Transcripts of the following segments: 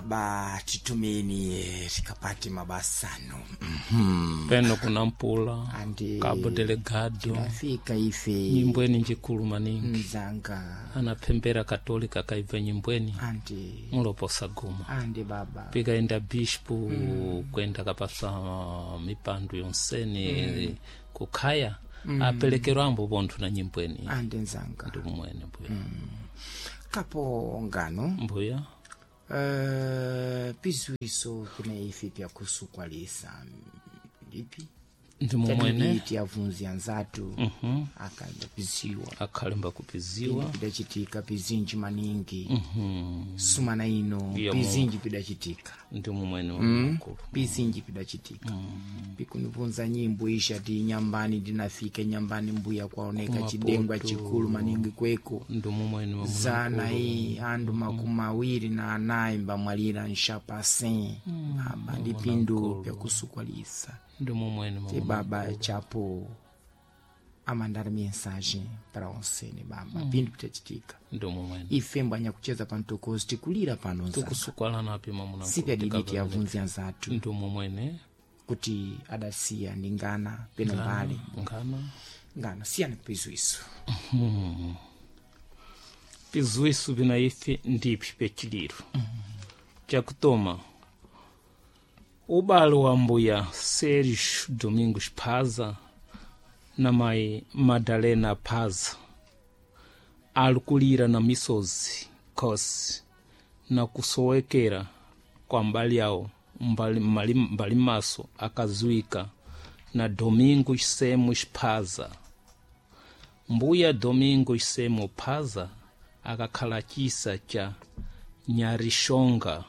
Baba titumeni tikapate mabasano. Peno kuna mpula Andi Cabo Delegado tinafika ife nyimbweni njikulu maningi mzanga anaphembera katolika kaibva nyimbweni andi muloposa guma andi baba pikaenda bispo kwenda kapasa mipandu yonsene kukhaya apelekerwa ambo pontho na nyimbweni andi nzanga ndi kumwene mbuya. Kapo ngano Mbuya. Pizwiso kuna ife pyakusukwalisa ndipi Ndi mumwene. Tiyavunzi anzatu akanda piziwa Akhalemba kupiziwa. Pidachitika pizinji maningi sumana ino. Iya, pizinji pidachitika. Ndi mumwene mkulu. Pizinji pidachitika pikunivunza nyimbo isha ti nyambani ndinafika nyambani mbuya kwaoneka Kumapoto. chidengwa chikulu maningi kweko. Ndi mumwene wa Zana iyi andu 24 mbamwalira nshapase baba ndi pindu pyakusukwalisa. Ndi mumwene Te baba chapo amandar mensagem para onsene baba pindu pitachitika. Ndi mumwene. Ife mbwanya kucheza pantokozi tikulira pano nzanga. Tikusukwala napi mamuna. Sipyadiditi yavunzi anzatu Ndi mumwene. kuti adasiya ndi ngana peno mbale ngana. Ngana siyani kupizwiso. Pizwiso bina ife ndiphi pechiliro chakutoma ubale wa mbuya Sergio Domingos Phaza na mai Madalena Phaza alikulira na misozi khosi na kusowekera kwa mbali yawo mbali, mbali, mbali maso akazuika na Domingos Semos Phaza. Mbuya Domingos Semo Phaza akakhala chisa cha Nyarishonga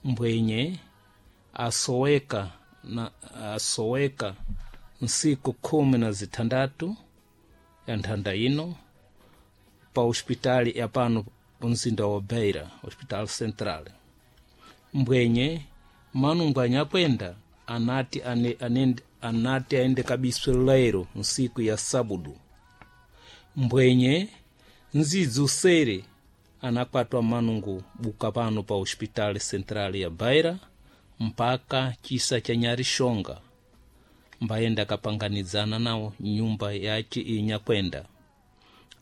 mbwenye asoweka na asoweka nsiku 16 ya nthanda ino pa hospitali ya pano mzinda wa Beira, Hospital Central. Mbwenye manungu anyakwenda anati ane, ane, anati aende kabiswe lero nsiku ya sabudu. Mbwenye nzidzi usere anakwatwa manungu buka pano pa Hospital Central ya Beira mpaka chisa cha Nyarishonga mbayenda akapanganidzana nawo nyumba yace inyakwenda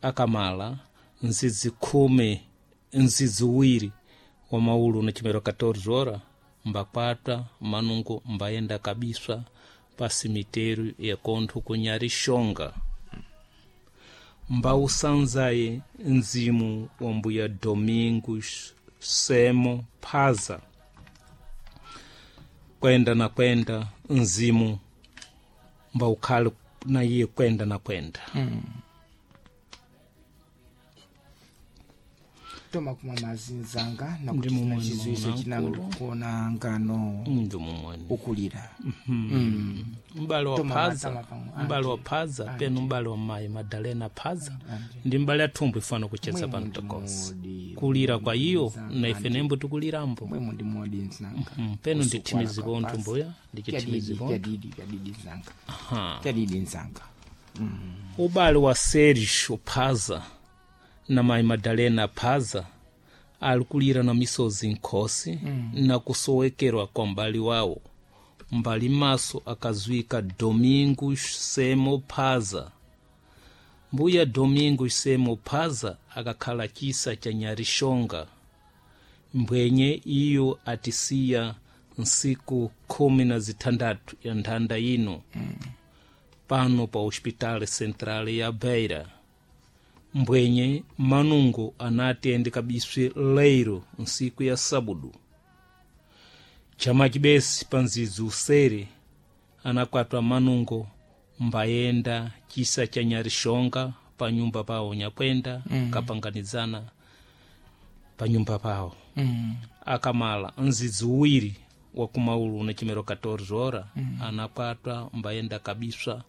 akamala nzidzi khume nzidzi uwiri wa maulu na chimero 14 ora mbakwatwa manungu mbayenda kabiswa pa simiteru ya kontho ku Nyarishonga mbausanzaye mzimu wa mbuya Domingos Semo Phaza kwenda na kwenda mzimu mbaukhale na iye kwenda na kwenda. Toma kumwa mazi nzanga Ndi nakuti mumwene chizwiso mwana chinango mkulu. kuona ngano Ndi mumwene. ukulira. Mbale wa Toma Phaza matama pamwe. mbale wa Phaza penu mbale wa mayi Madalena Phaza ndi mbale athumbu ifana kucheza Mwemu pano ndi tokosi modi, kulira kwa iyo nzanga, na ife nembo tikulirambo. Mwemu ndi modi nzanga. Peno Kusukwala ndithimizi kwa pontho pasi. mbuya ndichithimizi Pyadidi, pontho. pyadidi pyadidi nzanga pyadidi nzanga. Ubale wa Sergio Phaza na mayi Madalena Phaza alikulira na misozi nkhosi na kusowekerwa kwa mbali wawo mbali maso akazwika Domingos Semo Phaza. Mbuya Domingos Semo Phaza akakhala chisa cha Nyarishonga mbwenye iyo atisiya nsiku 16 ya nthanda ino pano pa Hospital Central ya Beira. Mbwenye manungo anati aende kabiswe leiro nsiku ya sabudu chama chibesi pa nzidzi usere anakwatwa manungo mbayenda chisa cha Nyarishonga pa nyumba pawo nyakwenda kapanganidzana pa nyumba pawo akamala nzidzi uwiri wa kumaulu na chimero 14 ora anakwatwa mbayenda kabiswa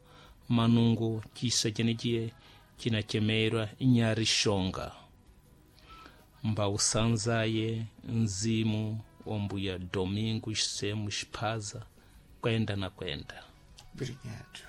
manungo chisa chenechiye chinachemerwa Nyarishonga mbausanzaye mzimu wa mbuya Domingos Semos Phaza kwenda na kwenda. Obrigado.